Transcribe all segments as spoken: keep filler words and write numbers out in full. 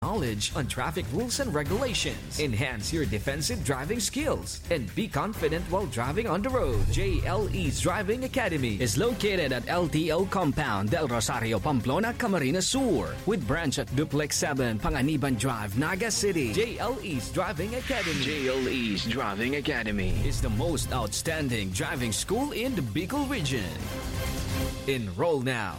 knowledge on traffic rules and regulations. Enhance your defensive driving skills and be confident while driving on the road. J L E's Driving Academy is located at L T O Compound, Del Rosario, Pamplona, Camarines Sur, with branch at Duplex seven, Panganiban Drive, Naga City. J L E's Driving Academy. J L E's Driving Academy is the most outstanding driving school in the Bicol region. Enroll now.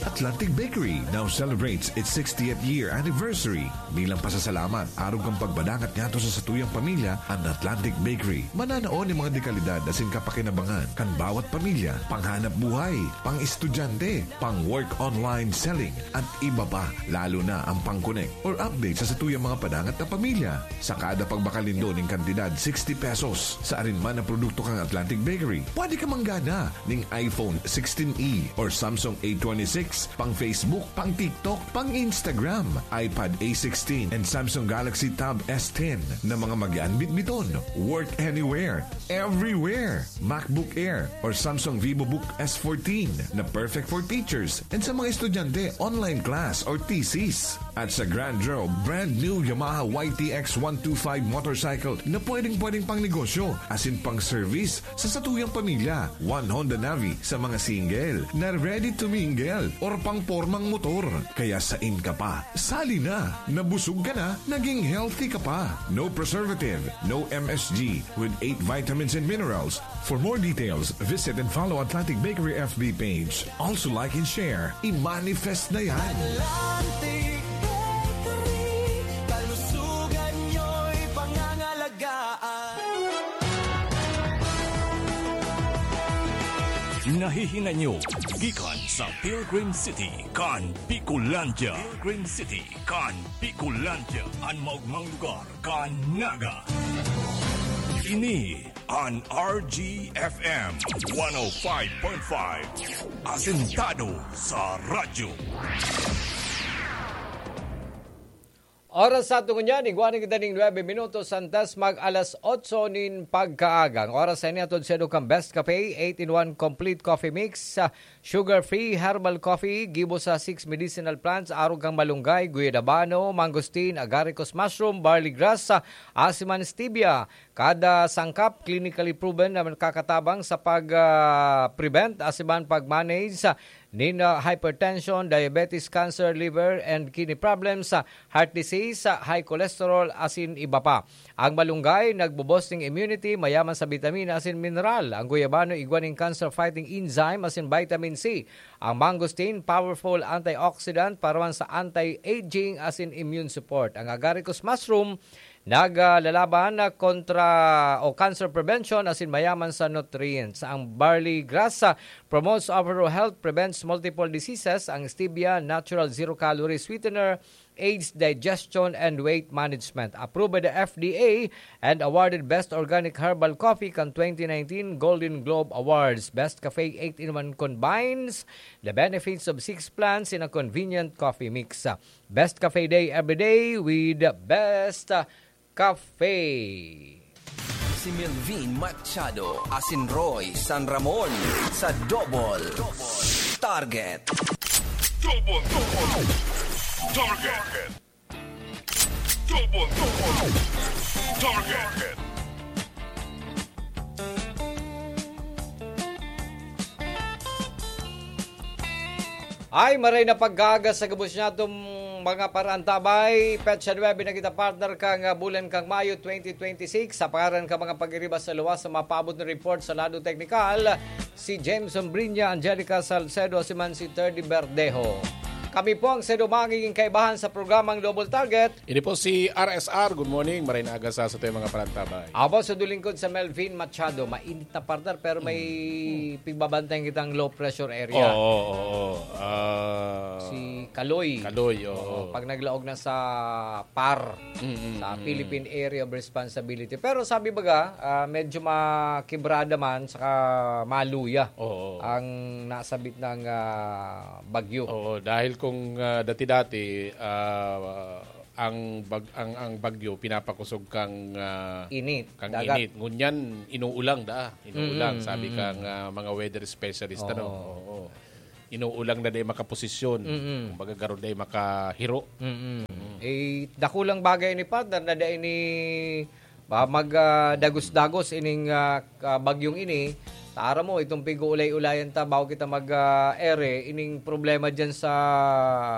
Atlantic Bakery now celebrates its sixtieth year anniversary. Bilang pasasalamat, arog kan pagpadangat ngadto sa satuyang pamilya, an Atlantic Bakery mananao nin mga dekalidad asin kapakinabangan kan bawat pamilya, panghanap buhay, pang-estudyante, pang-work online selling, at iba pa, lalo na ang pang-connect or update sa satuyang mga padangat na pamilya. Sa kada pagbakal nindo nin kantidad sixty pesos sa arin man na produkto kan Atlantic Bakery, pwede ka manggana ning iPhone sixteen E or Samsung A twenty-six, pang Facebook, pang TikTok, pang Instagram, iPad A sixteen and Samsung Galaxy Tab S ten na mga mag-aanbit-biton. Work anywhere, everywhere. MacBook Air or Samsung VivoBook S fourteen na perfect for teachers and sa mga estudyante, online class or thesis. At sa Grand Draw, brand new Yamaha Y T X one two five motorcycle na pwedeng-pwedeng pang negosyo asin pang service sa satuyang pamilya. One Honda Navi sa mga single na ready to mingle or pang pormang motor. Kaya sain ka pa? Sali na! Nabusog ka na, naging healthy ka pa. No preservative, no M S G, with eight vitamins and minerals. For more details, visit and follow Atlantic Bakery F B page. Also like and share. I-manifest na yan! Atlantic Bakery, kalusugan nyo'y pangangalagaan. Nahihinanyo gikan sa Pilgrim City kan Bicolandia. Pilgrim City kan Bicolandia, an maogmang lugar kan Naga. Ini an R G F M one oh five point five, asentado sa radyo. Oras sa aton ngunyan, igwa na kita ning nuebe minutos antes mag alas otso nin pagkaaga. Ang oras sa ini atod sa kan Best Cafe, eight-in-one complete coffee mix, ah, sugar-free herbal coffee, gibo sa six medicinal plants, arog kan malunggay, guyadabano, mangosteen, agaricus mushroom, barley grass, ah, asin man stevia. Kada sangkap, clinically proven na nakakatabang sa pag, ah, prevent asin man pag-manage, ah, nin, ah, hypertension, diabetes, cancer, liver and kidney problems, ah, heart disease, ah, high cholesterol, asin iba pa. Ang malunggay, nagbobosting immunity, mayaman sa bitamina asin mineral. Ang guyabano, igwa nin cancer-fighting enzyme asin vitamin C. Ang mangosteen, powerful antioxidant, paraman sa anti-aging asin immune support. Ang agaricus mushroom, naglalaban kontra o cancer prevention asin mayaman sa nutrients. Ang barley grass, ah, promotes overall health, prevents multiple diseases. Ang stevia, natural zero-calorie sweetener, aids digestion and weight management. Approved by the F D A and awarded Best Organic Herbal Coffee kan twenty nineteen Golden Globe Awards. Best Cafe eight-in-one combines the benefits of six plants in a convenient coffee mix. Best Cafe Day every day with Best Cafe. Si Melvin Machado asin Roy San Ramon sa Double Target. Double, double. Target. Double, double. Target. Ay, maray na pagkaaga sa gabos niya itong mga paraantabay. Petsa nuebe na kita, partner, kang, ah, bulan kang Mayo twenty twenty-six. Sa pangaran ka mga pag-iriba sa luwas sa mapaabot na report sa lado teknikal, si Jameson Brinya, Angelica Salcedo, si man si Terdy Verdejo. Kami po ang sedo magiging kaibahan sa programang Double Target. Ini po si R S R. Good morning. Maray na aga sa satuyang mga parantabay. Abo sa dulingkod sa Melvin Machado. Mainit na, partner, pero may hmm. pigbabantayan kitang low pressure area. Oo, oo, oo. Uh, si Kaloy. Kaloy, oo. Oo. Pag naglaog na sa PAR, mm-hmm. sa Philippine Area of Responsibility. Pero sabi baga, uh, medyo makibrada man, saka maluya oo. Ang nasabit ng uh, bagyo. Oo, dahil kung uh, dati-dati, uh, ang bag ang ang bagyo pinapakusog kang uh, init, kang dagat. Init. Ngunyan inuulang da, inuulang mm-hmm. sabi kang uh, mga weather specialist oh. ano. Oo. inuulang na dai makaposisyon. Mm-mm. Kumbaga, garo dai makahiro. Mm-mm. Mm. Eh, dakulang bagay ni partner na dai ni ba, mag, ah, dagos-dagos ining, ah, ka-, bagyong ini. Tara mo, itong pig-uulay-ulayan ta bago kita mag, ah, ere, ining problema dyan sa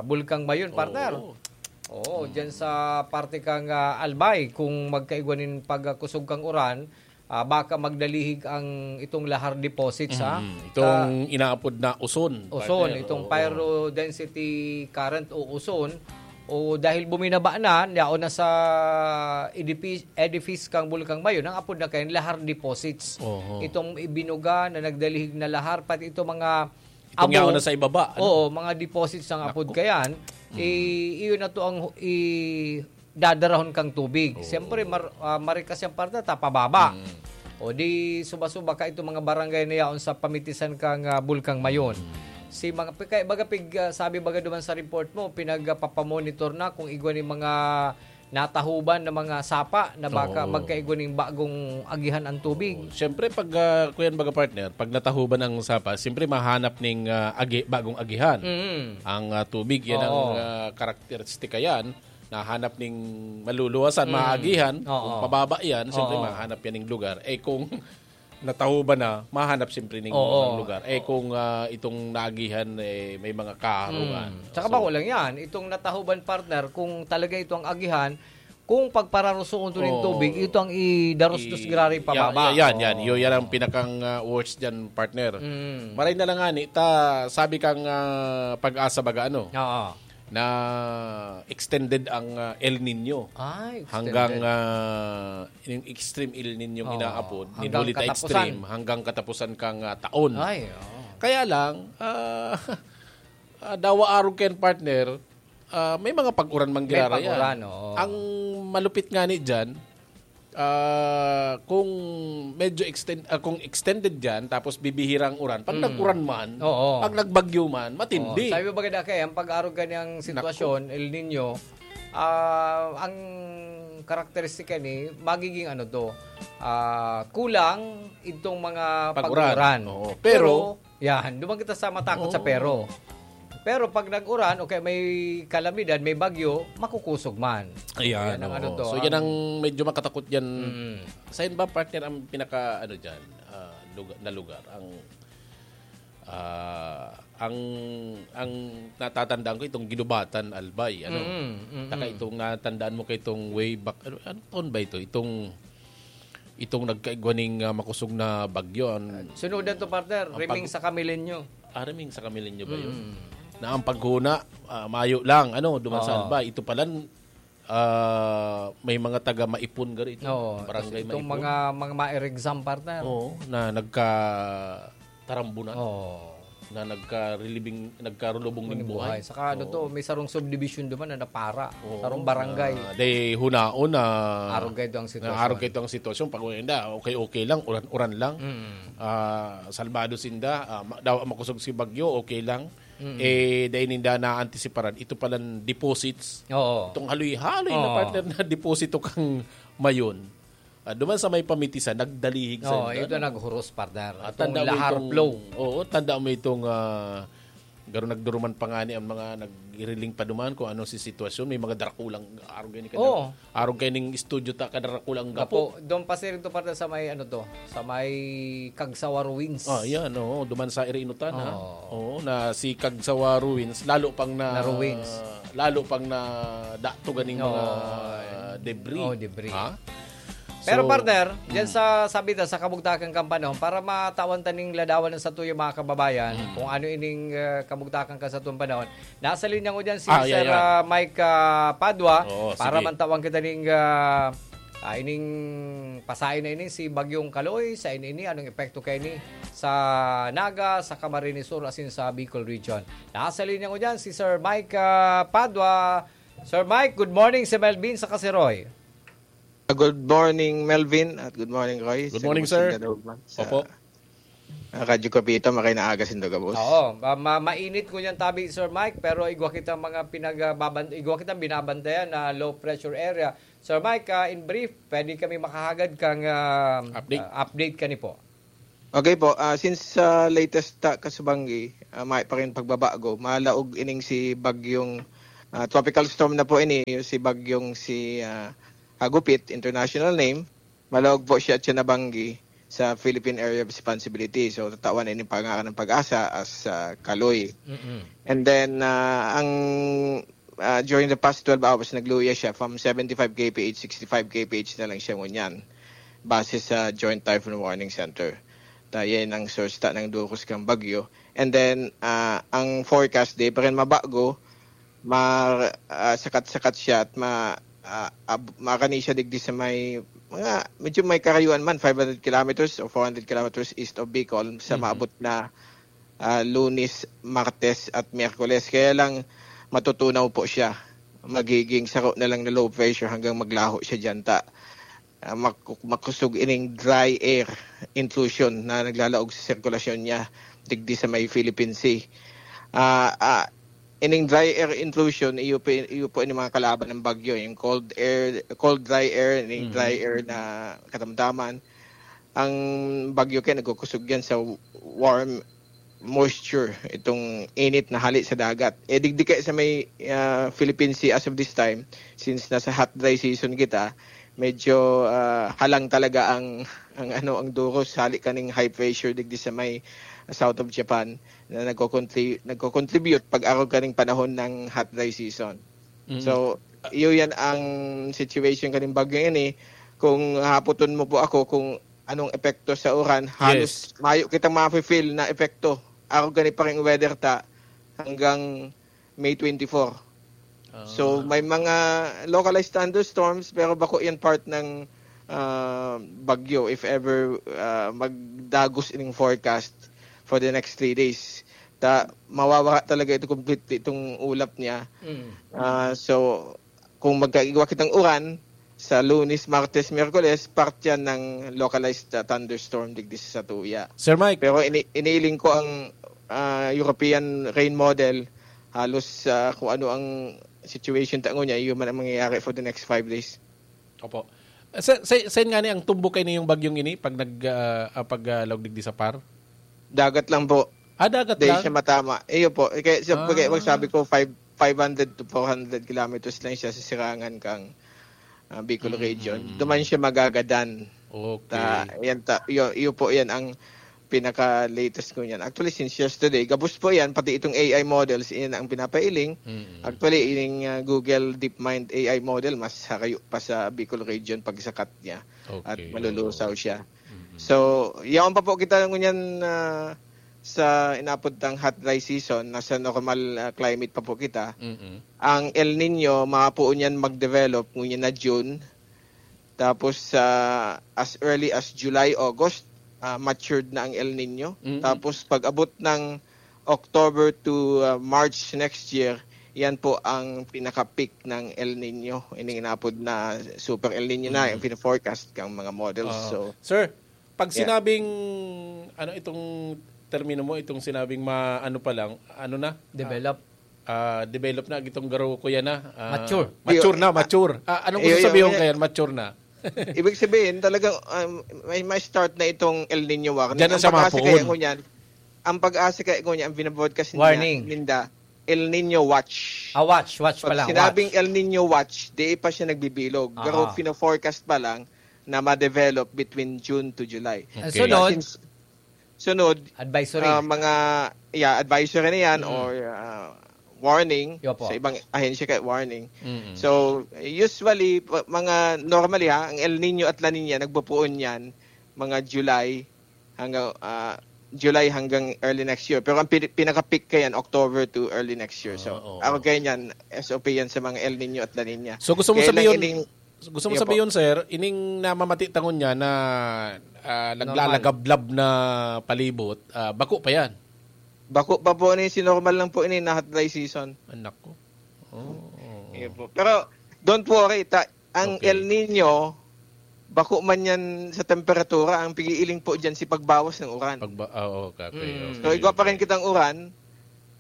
Bulkang Mayon, partner. Oo. Oo, dyan sa parte kang, ah, Albay, kung magkaigwa nin pagkusog kang uran, ah, baka magdalihig ang itong lahar deposits, ha? Mm, itong inaapod na uson, Uson, partner. Itong Oo. Pyro density current o uson, o dahil buminaba na, yaon na sa edifi-, edifice kang Bulkang Mayon, ang apod na kayan, lahar deposits. Oho. Itong ibinuga na nagdalihig na lahar, pati itong mga Itong abo, yaon na sa ibaba, ano? Oo, mga deposits ang apod Naku. kayan. Mm. I-, iyon na to ang hu-, i-, dadarahon kang tubig. Oo. Siyempre, mar-, ah, marikas yang parte, ta pababa. Mm. O di, suba-suba ka itong mga barangay na yaon sa pamitisan kang, ah, Bulkang Mayon. Mm. Si mga, kaya baga pig, ah, sabi baga duman sa report mo, pinagpapamonitor na kung igwa ni mga natahuban na mga sapa na baka Oo. magkaigwa ning bagong agihan ang tubig. Oo. Siyempre, pag, ah, kuyan baga partner, pag natahuban ang sapa, siyempre mahanap ning, ah, agi-, bagong agihan. Mm. Ang, ah, tubig, yan ang, Oo. ah, karakteristika yan. Nahanap ning maluluwasan, Mm. maagihan. Oo. Kung pababa yan, siyempre Oo. mahanap yan ning lugar. Eh, kung natahuban na, mahanap siyempre ning Oo. lugar. Eh, kung, ah, itong naagihan, eh, may mga kaharungan. Mm. Tsaka So, bako lang yan, itong natahuban, partner, kung talaga ito ang agihan, kung pagpararusoon to ning Oo. tubig, ito ang idarusdos I-, grabe ya-, pababa. ya-, yan, yan. Yun, yan ang Oo. pinakang, ah, worst dyan, partner. Mm. Maray na lang nga, ni, ta, sabi kang, ah, Pag-asa baga, ano? Oo. Na extended ang, ah, El Nino. Ay, extended. Hanggang, ah, yung extreme El Nino yung Oo, inaapod, hanggang minuli ta katapusan. Extreme, hanggang katapusan kang, ah, taon. Ay, oo. Kaya lang, ah, ah, dawa arog kayan, partner, ah, may mga pag-uran man May girara yan. pag-uran, oo. Ang malupit nga ni dyan, ah, kung medyo extend, ah, kung extended yan, tapos bibihira ang uran, pag Mm. nag-uran man, Oo. pag nagbagyo man, matindi. Oo. Sabi mo ba, Gada, kaya ang pag-arog ganyang Naku. sitwasyon, El Nino, ah, ang karakteristika ni, magiging ano to, ah, kulang itong mga Pag-uran. pag-uran. Oo. Pero, Pero, yan, duman kita sa matakot sa Oo. pero. Pero pag nag-uran o kaya may kalamidad, may bagyo, makukusog man. Ayan, Yan ang oo. ano to, So, yan ang ang medyo makatakot yan. Mm. Saan ba, partner, ang pinaka, ano dyan, ah, lugar, na lugar? Ang, ah, ang, ang natatandaan ko, itong Ginubatan, Albay, ano? Mm, mm, Taka mm. Itong natandaan mo kay itong way back, ano, ano taon ba ito? Itong, itong nagkaigwa ning, ah, makusog na bagyo. Ang, Sunodan to, partner. ang Riming pag- sa Kamilenyo. Ah, riming sa Kamilenyo ba yun? Mm. Na ang paghuna, ah, mayo lang, ano, duman sa Oo. Albay. Ito pala, ah, may mga taga Maipon gari ito. Oo, Barangay tas itong Maipon. mga, mga ma-exam, partner. Oo, na nagkatarambunan. Oo. Na nagkarilibing, nagkarulubong ning Ning buhay. buhay. Saka ano Oo. to, may sarong subdivision duman na napara. Oo, Sarong barangay. na, day hunaon na Arog kayo ang sitwasyon. na arog kayo ang sitwasyon. Pag wala, okay, okay lang, uran-uran lang. Mm. Ah, salbado sinda, ah, ma-, daw makusog si bagyo, okay lang. Mm. Eh, dahil ninda na-antisiparan, ito palang deposits. Oo. Itong haloy-haloy na Oo. partner na deposito kang Mayon. Ah, duman sa may pamitisan, nagdalihig sa Oo, inda, ito no? naghuros, partner. Ah, Itong tanda mo lahar itong, flow. Oo, tanda mo itong, ah, garo nagduruman pa nga ni ang mga nagiriling pa duman kung ano si sitwasyon. May mga drakulang arog kayo ni Oo. Arog kayo ning studio ta, kadarakulang gapo. Gapo. Doon pa siya rin to, partner, sa may, ano to, sa may Kagsawa Ruins. Ah, yan, oo. Duman sa iri inutan, ha? Oo. Oo, na si Kagsawa Ruins, lalo pang na, Na ruins. lalo pang na dato ganing Oo. mga debris. Oh, debris. Ha? Pero So, partner, dyan mm. sa sabi ta, sa kabugtakan kang panahon, para matawan ta ning ladawan sa tuyo mga kababayan, Mm. kung ano ining, ah, kabugtakan ka sa tuwang panahon, nasa linya ko dyan si Ah, yeah, Sir, yeah. ah, Mike, ah, Padua, Oo, para sige. mantawan kita ning, ah, ah, ining pasain na ini, si Bagyong Kaloy, sa ini, ini, anong epekto kay ni sa Naga, sa Camarines Sur, asin sa Bicol Region. Nasa linya ko dyan si Sir Mike, ah, Padua. Sir Mike, good morning, si Melvin sa Kasiroy. Good morning, Melvin, at good morning, Roy. Good morning, Sa sir. Sinda daw man sa, Opo. ah, Radyo Kapita, makay na aga sinda gabos. Oo, ma-, ma-, mainit ko yan tabi, Sir Mike, pero igwa kita mga pinag-, ah, baban-, igwa kita binabantayan na low pressure area. Sir Mike, ah, in brief, pwede kami makahagad kang, ah, Update. ah, update kani po. Okay po, ah, since sa latest ta kasubanggi, ah, may pa rin pagbabago, malaog ining si bagyong, ah, tropical storm na po ini, si bagyong si, ah, Hagupit, international name. Malaog po siya at siya nabanggi sa Philippine Area of Responsibility. So, tatawan na ining pangaran ng pag-asa as ah, Kaloy. Mm-mm. And then, ah, ang ah, during the past twelve hours, nagluya siya from seventy-five kph, sixty-five kph na lang siya ngunyan. Base sa Joint Typhoon Warning Center. Ta, yan ang source ta ng duros kang bagyo. And then, ah, ang forecast, di pa rin mabago, ma, ah, sakat-sakat siya at ma, ah, ab, makani siya digdi sa may, mga, medyo may karayuan man, five hundred kilometers or four hundred kilometers east of Bicol, sa Mhm. maabot na ah, Lunes, Martes at Miyerkules. Kaya lang matutunaw po siya. Magiging saro na lang na low pressure hanggang maglaho siya diyan ta. Ah, mak- makusog ining dry air intrusion na naglalaog sa sirkulasyon niya digdi sa may Philippine Sea. Ah, ah, ining dry air intrusion, iyo po, iyo po ini mga kalaban ng bagyo, yung cold air, cold dry air, ining Mhm. dry air na katamtaman. Ang bagyo kaya nagkukusog yan sa warm moisture, itong init na hali sa dagat. Eh, digdi kaya sa may ah, Philippine Sea as of this time, since nasa hot dry season kita, medyo ah, halang talaga ang ang ano ang duros hali kaning high pressure digdi sa may south of Japan na nagko-contri- nagko-contribute pag-arog kaning panahon ng hot dry season. Mm. So, iyo yan ang situation kaning bagyo ini. Kung haputon mo po ako kung anong epekto sa uran, halos mayo kitang mafe-feel na epekto. Arog gani pa ring weather ta hanggang May twenty-four. Ah. So, may mga localized thunderstorms pero bako yan part ng ah, bagyo if ever ah, magdagos ining forecast for the next three days. Ta, mawawara talaga ito completely itong ulap niya. Mm. Ah, so, kung magkaigwa kitang uran, sa Lunes, Martes, Miyerkules, part yan ng localized ah, thunderstorm digdi sa satuya. Sir Mike, Pero ini iniiling ko ang ah, European rain model, halos ah, kung ano ang situation ta ngunyan, yun man ang mangyayari for the next five days. Opo. Sa, sa, saan nga ni ang tumbok kayo yung bagyong ini pag nag ah, ah, pag ah, laog digdi sa par? Dagat lang po. Ah, dagat Dahil lang? siya matama. Iyo po. Eh, kaya, siya, Ah. kaya pag sabi ko, five, five hundred to four hundred kilometers lang siya sa sirangan kang ah, Bicol Mm, region. mm, mm. Duman siya magagadan. Okay. Ta, yan ta, yun, yun po yan ang pinaka-latest ko niyan. Actually, since yesterday, gabos po yan, pati itong A I models, yan ang pinapailing. Mm. Actually, ining ah, Google DeepMind A I model, mas harayo pa sa Bicol region pagsakat niya. Okay, At malulusaw oo. siya. Mm. So, yaon pa po kita ngunyan ah, sa inapod tang hot dry season, nasa normal ah, climate pa po kita. Mm-mm. Ang El Nino, mapuon yan mag-develop ngunyan na June. Tapos, ah, as early as July, August, ah, matured na ang El Nino. Mm. Tapos, pag abot ng October to ah, March next year, yan po ang pinaka-peak ng El Nino. Ining inapod na super El Nino na, Mm. yung pina-forecast kang mga models. Oo. So, Sir, pag Yeah. sinabing, ano itong termino mo, itong sinabing ma, ano pa lang, ano na? Develop. Ah, develop na, itong garo ko yan na. Ah, Mature. Mature na, mature. Ah, anong gusto Iyo, iyo, sabihin iyo. kaya mature na? Ibig sabihin, talagang um, may, may start na itong El Nino warning. Diyan na Ang siya pag-asa mapuon. kaya ngunyan, ang pag-asa kaya ngunyan, ang binabroadcast ninda, Warning. ninda, El Nino watch. Ah, watch, watch pa Pag lang. sinabing Watch. El Nino watch, di pa siya nagbibilog. Pero Aha. pino-forecast pa lang na ma-develop between June to July. Ang Okay. sunod, Since, sunod, advisory. ah, mga yeah, advisory na yan Mm. or ah, warning Yo po. sa ibang ahensya kaya warning. Mm-mm. So, usually, pa- mga normally ha, ang El Nino at La Nina nagpupuon yan mga July hanggang ah, July hanggang early next year. Pero ang pin- pinaka-peak kaya yan, October to early next year. So, Oo, oo. ako kaya yan, S O P yan sa mga El Nino at La Nina. So, gusto mo Kaya lang sabihin, ining- gusto mo Iyo po. sabihin, sir, ining namamatita ngunyan na ah, Normal. naglalagablab na palibot, ah, bako pa yan? Bako pa po ni, si normal lang po ini na hot dry season. Anak ko. Oh. Iyo po. Pero don't worry, ta, ang Okay. El Nino, bako man yan sa temperatura, ang pigiiling po dyan si pagbawas ng uran. Pagba, ah, oo, okay. Mm. Okay, So, igwa pa rin okay. kitang uran.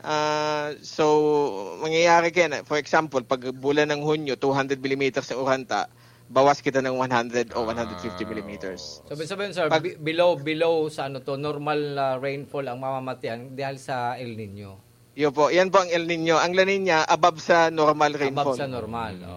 Ah, so, mangyayari kaya na, for example, pag bulan ng Hunyo, two hundred millimeters ang uran ta, bawas kita ng one hundred o one hundred fifty millimeters. So, ibig sabihin, sir, Pag- bi- below, below sa ano to, normal na rainfall ang mamamatian dahil sa El Nino. Yun po, yan po ang El Nino. Ang La Nina, above sa normal rainfall. Above sa normal.